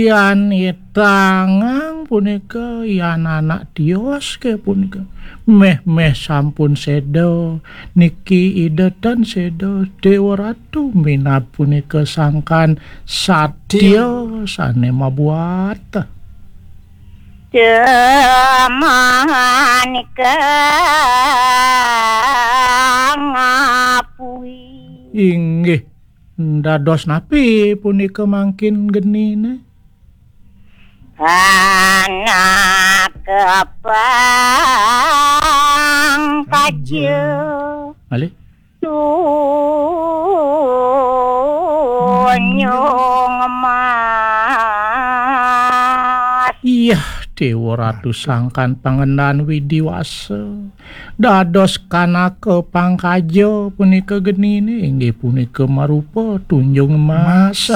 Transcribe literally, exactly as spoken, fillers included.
Yan itangang punika, yan anak tios ke punika. Meh-meh sampun seda, niki ida tan seda, Dewa Ratu minab punika sangkan satya sane mabuat. Cemanika ngapui. Inggih, dados napi punika mangkin genine? Anak pangkaja. Malih? Tunjung emas. Iyah, Dewa Ratu sangkan pangendan widiwasa. Dados kanaka pangkaja punika genine, inggih punika marupa tunjung emas.